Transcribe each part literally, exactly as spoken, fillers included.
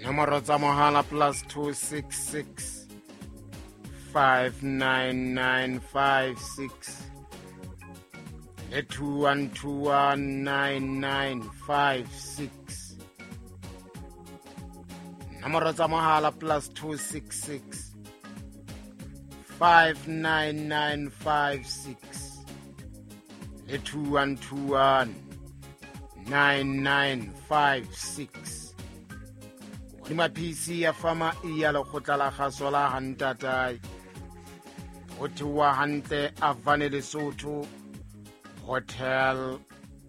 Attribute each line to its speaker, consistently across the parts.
Speaker 1: Nomoro tsa mohala plus two six six five nine nine five six le two one two one nine nine five six. Nomoro tsa mohala plus two six six five nine nine five six le two one two one nine nine five six. Hodima P C ya fama e ya lekgotla la kgaso la Hantatae. Ho theoha hantle Avane Lesotho Hotel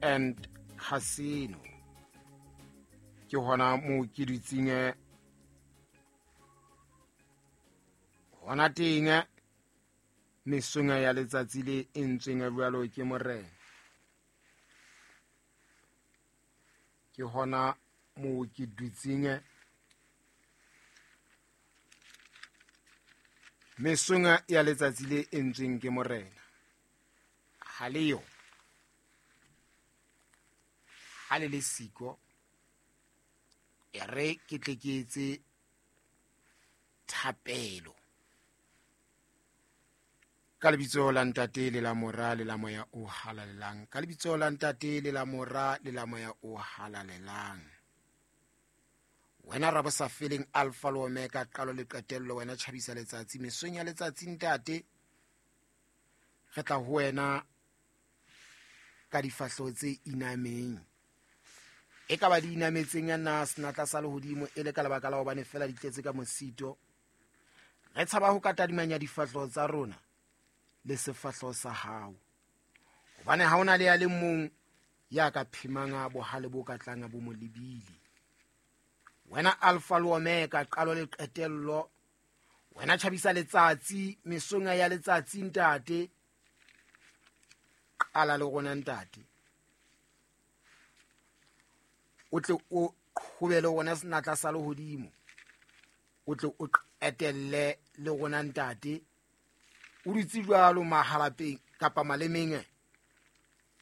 Speaker 1: and Casino. Ke hona moo ke dutseng hona teng mesong ya letsatsi le entsweng jwalo ke morena. Ke hona moo ke dutseng mesong ya letsatsi le entsweng ke morena. Ha le yo, ha le le siko, e re ke tle ke etse thapelo. Ka lebitso la Ntate le la Mora le la Moya o Halalelang. Ka lebitso la Ntate le la Mora le la Moya o Halalelang. Wena ra bo sa feleng Alpha le Omega, qalo le qetello, wena tjhabisa letsatsi mesong ya letsatsi Ntate. Re tla ho wena ka difahleho tse inameng. E ka ba di inametseng ya na senatla sa lehodimo e le ka lebaka la hobane fela di tletse ka mosito. Re tshaba ho ka tadimanya difahleho tsa rona le sefahleho sa hao. Hobane ha hona le ya le mong ya ka phemang bohale bo ka tlang bo mo lebile. Wena Alpha le Omega, qalo le qetello, wena tjhabisa letsatsi mesong ya letsatsi Ntate. Qala le rona Ntate, o tle o qhobele rona senatla sa lehodimo, o tle o qetelle le rona Ntate. O dutse jwalo mahalapeng kapa malemeng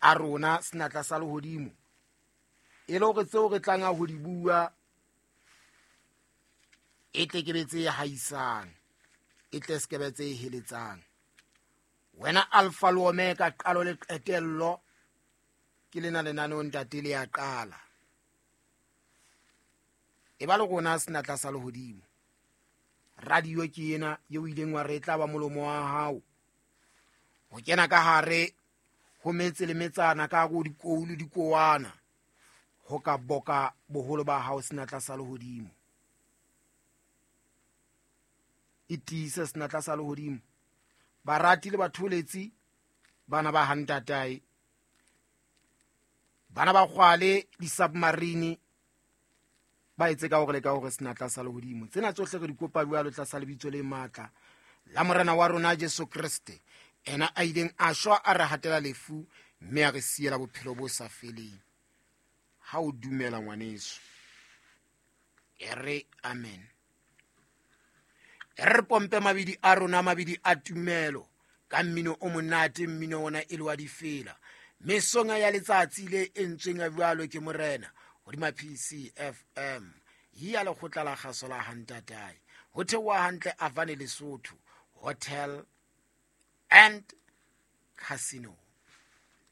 Speaker 1: a rona senatla sa lehodimo, e le hore tseo re tlang ho di bua e tle ke be tse haisang, e tle se ke be tse heletsang. Wena Alpha le Omega, qalo le qetello, ke lena lenaneo Ntate le ya qala. E ba le rona senatla sa lehodimo. Radio ke ena eo ileng wa re e tla ba molomo wa hao ho kena ka hare ho metse le metsana, ka hare ho dikou le dikowana, ho ka boka boholo ba hao senatla sa lehodimo. E tiise senatla sa lehodimo. Barati le batholetsi, bana ba Hantatae, bana ba kgwale di-submarine, ba etse ka hore le ka hore senatla sa lehodimo. Tsena tsohle re di kopa jwalo tlasa lebitso le matla la Morena wa rona Jesu Kreste, ena a ileng a shwa a re hatela lefu mme a re siela bophelo bo sa feleng. Ha o dumela ngwaneso, e re amen. E re pompe mabidi a rona, mabidi a tumelo, ka mmino o monate, mmino ona e le wa difela. Mesong ya letsatsi le entsweng jwalo ke morena hodima P C F M ya lekgotla la kgaso la Hantatae. Ho theoha hantle Avane Lesotho Hotel and Casino.